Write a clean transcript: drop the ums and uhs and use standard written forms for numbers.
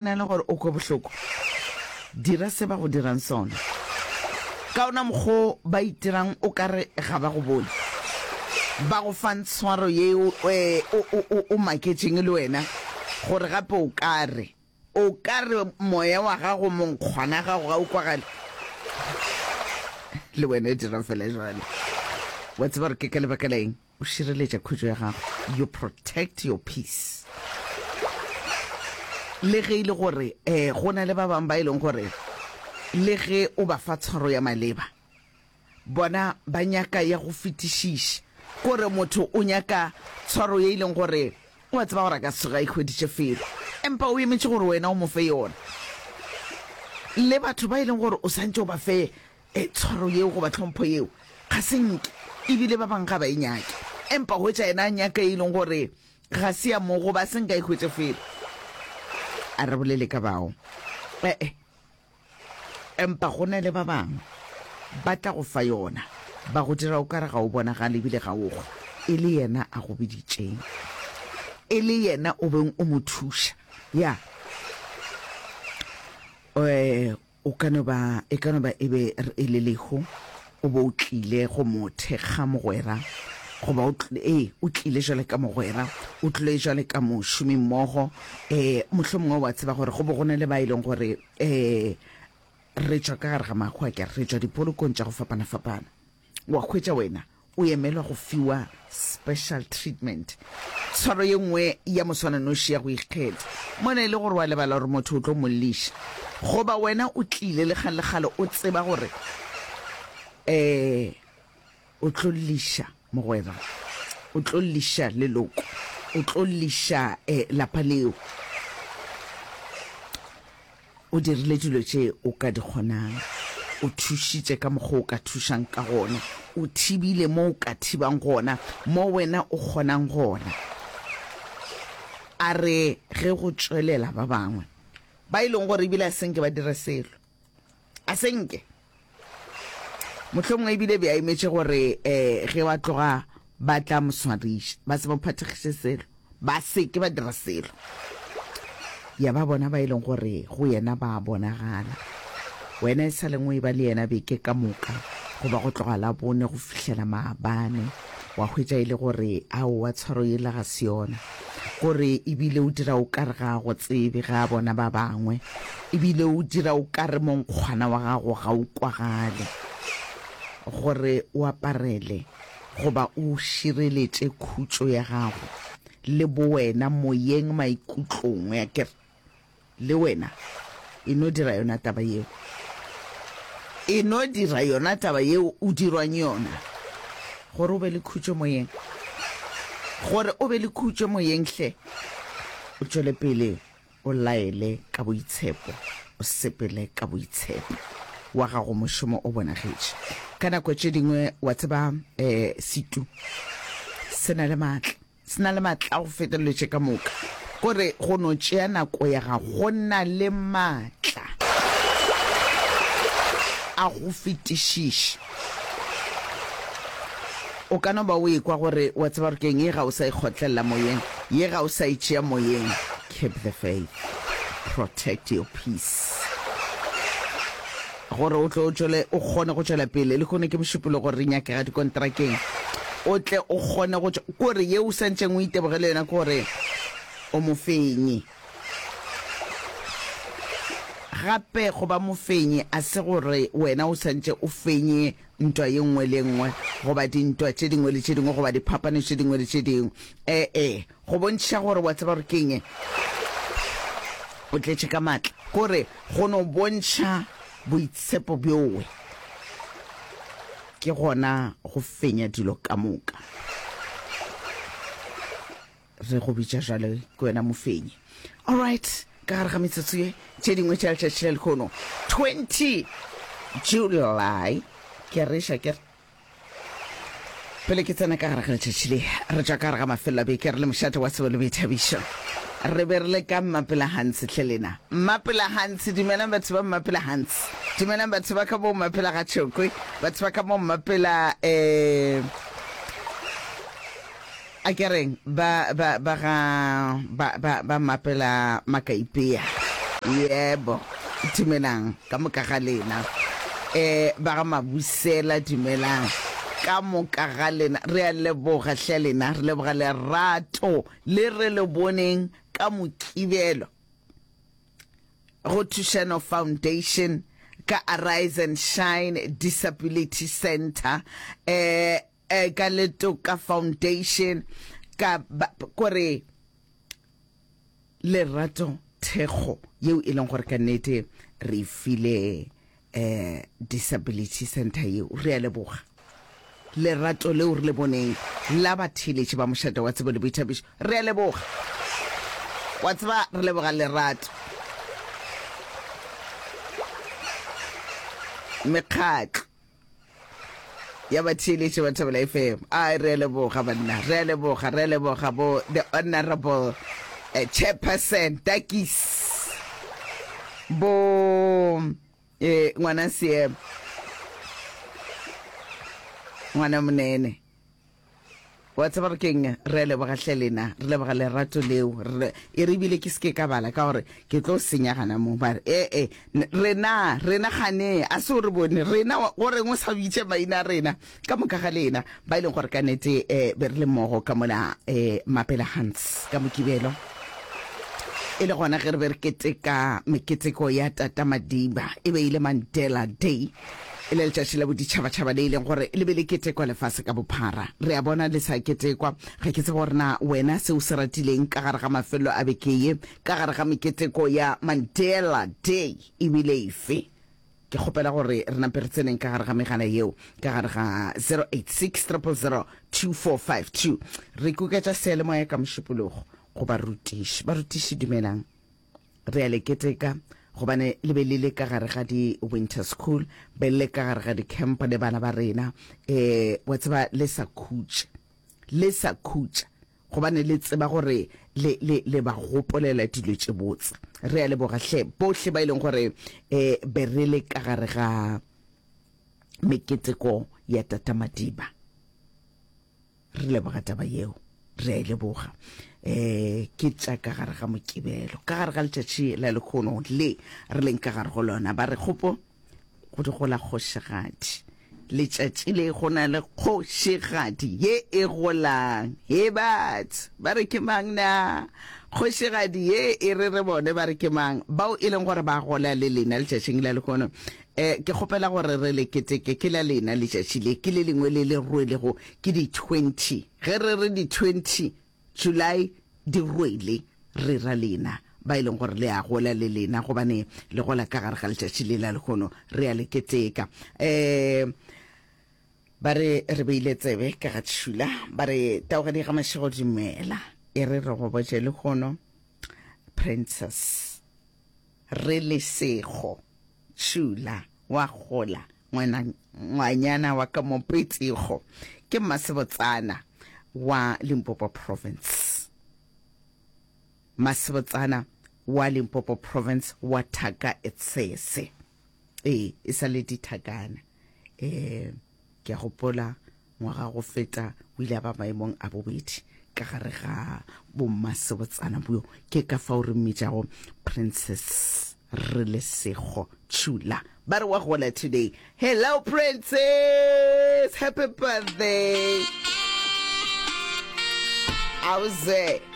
Na le gore o kwe bohloko, dira se ba go dirang sona. Ka ona mokgwa wo ba itirang o ka re ga ba go bone. Ba go fang tshwaro ye o, o, o, o maketšeng le wena, gore gape o ka re, o ka re moya wa gago, monkgwana gago ga o kwagale. Le wena dira fela jwalo. Wa tseba gore ke ka lebaka la eng? O šireletša khutšo ya gago, you protect your peace. Le ge e le gore um go na le ba bangwe ba e leng gore le ge o ba fa tshwaro ya maleba, bona ba nyaka ya go fetišiša. Kore motho o nyaka tshwaro ye e leng gore o a tseba gore a ka se tsoge a e hweditše felo, empa o emetše gore wena o mo fe yona. Le batho ba e leng gore o santše o ba fe E, tshwaro yeo goba tlhompho yeo ga se nke, ebile ba bangwe ga ba e nyake. Empa hwetša yena a nyaka e leng gore ga se ya mo goba se nka e hwetše felo. A re bolele ka bao. E-e. Empa go na le ba bangwe ba tla go fa yona, ba go dira o ka re ga o bonagale ebile ga o kgwe, e le yena a go biditšeng, e le yena o beng o mo thuša. Ya. E, O ka no ba, e ka no ba e be e le lehu, o be o tlile go mo thekga mogwera, goba o, ee, o tlile jwale ka mogwera, o tlile jwale ka mošomimmogo, ee, mohlomongwe wa tseba gore go be go na le ba e leng gore, ee, re tšwa ka gare ga mahu, a ke re, re tšwa dipolokong tša go fapana-fapana. Wa hwetša wena o emelwa go fiwa special treatment, tshwaro ye nngwe ya moswananoši ya go ikgetha. Mona e le gore wa lebala gore motho o tlo mo lliša. Goba wena o tlile le kgale le kgale o tseba gore um o tlo lliša mogwera, o tlo lliša leloko, o tlo lliša um lapa leo. O dirile dilo tše o ka di kgonang. O thušitše ka mokgwa o ka thušang ka gona. O thibile mo o ka thibang gona, mo wena o kgonang gona. A re ge go tšwelela ba bangwe ba e leng gore ebile a se nke ba dire selo, a se nke. Mohlomongwe ebile be a emetše gore um ge ba tloga ba tla mo swariša, ba se mo phathegiše selo, ba se ke ba dira selo. Ya ba bona ba e leng gore go yena ba bonagala. Wena e sa leng o eba le yena beke ka moka, goba go tloga Labone go fihlela maabane, wa hwetša e le gore aowa tshwaro yela ga se yona. Gore ebile o dira o ka re ga a go tsebe ge a bona ba bangwe. Ebile o dira o ka re monkgwana wa gago ga o kwagale. Gore o aparele goba o šireletše khutšo ya gago le bowena moyeng maikutlong, akere? Le wena e no dira yona taba yeo. E no dira yona taba yeo o dirwang yona, gore o be le khutšo moyeng. Gore o be le khutšo moyeng, hle o tšwele pele o laele ka boitshepo, o sepele ka boitshepo. Wa gago mošomo o bonagetše. Ka nako tše dingwe, wa tseba, um setu se na le maatla. Se na le maatla a go feta dilo tše ka moka. Kore go no tšea nako ya gago go na le maatla a go fetišiša. O ka no ba o ekwa gore wa tseba gore ke'ng, ye ga o sa e kgotlelela moyeng, ye ga o sa e tšea moyeng. Keep the faith. Protect your peace. Gore o tle o tšwele, o kgone go tšwela pele. Lehono ke Mošupologo, re nyakega dikontrakeng. O tle o kgone go tšwa, kore ye o santšeng o itebogele yona ke gore o mofenyi. Gape go ba mofenyi a se gore wena o santše o fenye ntwa ye nngwe le ye nngwe goba dintwa tše dingwe le tše dingwe goba diphapano tše dingwe le tše dingwe. E-e, go bontšha gore wa tseba gore ke'ng, o tletše ka matla, kore go no bontšha boitshepo bjowe ke gona go fenya dilo ka moka. Re go bitša jwale ke wena mofenyi. Alright, ka gare ga metsotso ye tše dingwe tša letšatši la lehono 20 July, ke a reša ke re Pele ke tsena ka gare ga letšatši le, re tšwa ka gare ga mafelo a beke re le mošate wa tsebo le boithabišo. Re be re le ka Mmapela Hans hle lena. Mmapela Hans, dumelang batho ba Mmapela Hans. Dumelang batho ba ka mo Mmapela ga Tšhokwe, batho ba ka mo Mmapela eh a ke reng ba ba ba ga ba ba ba Mmapela Makaipea. Yebo, dumelang ka moka ga lena. Eh, ba ga Mabusela dumelang ka moka ga lena. Re a leboga hle lena, re leboga lerato le re le boneng ka Mokibelo go Thušano Foundation ka Arise and Shine Disability Centre, eh, eh, ka Letoka Foundation, ka ba, kore lerato thekgo yeo e leng gore ka nnete re e file eh, disability center yeo. Re a leboga lerato leo re le boneng la batheeletši ba mošate wa tsebo le boithabišo. Re a leboga, wa tseba, re leboga lerato. Mekgatlo ya batheeletši ba Thobela FM. Ai, re a leboga banna, re a leboga, re a leboga bo the honorable eh, chairperson Takis bo eh, ngwana seemo ngwana monene. Wa tseba re ke'ng? Re a leboga hle lena. Re leboga lerato leo. Re, e re ebile ke se ke ka bala ka gore ke tlo senya gana mo. Ba re, E-e, rena, rena gane, a se o re bone, rena, go reng o sa bitše maina a rena? Ka moka ga lena, ba e leng gore ka nete e, be re le mmogo ka mola e, Mapela Hans, ka Mokibelo. E le gona ge re be re keteka meketeko ya Tata Madiba, e be e le Mandela Day. E le letšatši la boditšhabatšhaba le e leng gore le be le ketekwa lefase ka bophara. Re a bona le sa ketekwa. Ga ke tsebe gore na wena se o se ratileng ka gare ga mafelelo a beke ye, ka gare ga meketeko ya Mandela Day e bile efe. Ke kgopela gore re nape re tseneng ka gare ga megala yeo, ka gare ga 086 000 2452. Re kuketša seyalemoya ka Mošupologo go barutiši. Barutiši dumelang. Re a le keteka gobane le be le le ka gare ga di-winter school, be le le ka gare ga di-camp le bana ba rena. Um wa tseba le sa khutše, le sa khutša gobane le tseba gore le, le, le ba gopolela dilo tše botse. Re a leboga hle bohle ba e leng gore um be re le ka gare ga meketeko ya Tata Madiba. Re leboga taba yeo, re a e leboga. Um ke tša ka gare ga Mokibelo, ka gare ga letšatši la lekgono le re leng ka gare go lona. Ba re kgopo go di gola kgošigadi. Letšatši le go na le kgošigadi ye e golang. He batho, ba re ke mang na? Kgošigadi ye e re re bone ba re ke mang? Bao e leng gore ba gola le lena letšatšing la lehono. Eh, ke kgopela gore re le keteke, ke la lena letšatši le, ke le lengwe le le rwelego ke di 20. Ge re re di 20 July di rwele, re ra lena ba e leng gore le a gola le lena, gobane le gola ka gare ga letšatši le la lehono, re a le keteka. Eh, ba re re beile tsebe ka ga tšhula, ba re taogedi ga mašego dumela, e re re go botše lehono, Princess. Re lesego, Tšhula, wa gola, ngwana, ngwanyana wa ka mo Petsego. Ke mmasebotsana wa Limpopo Province. Mmasebotsana wa Limpopo Province wa thaka e tshese. Ee, e sa le dithakana. Eh, ke a gopola Ngwaga go feta o ile a ba maemong a bobedi ka gare ga bommasebotsana bjo. Ke ka fao re mmitšago Princess Relesego Chula. Ba re wa gola today. Hello Princess! Happy birthday! Auze.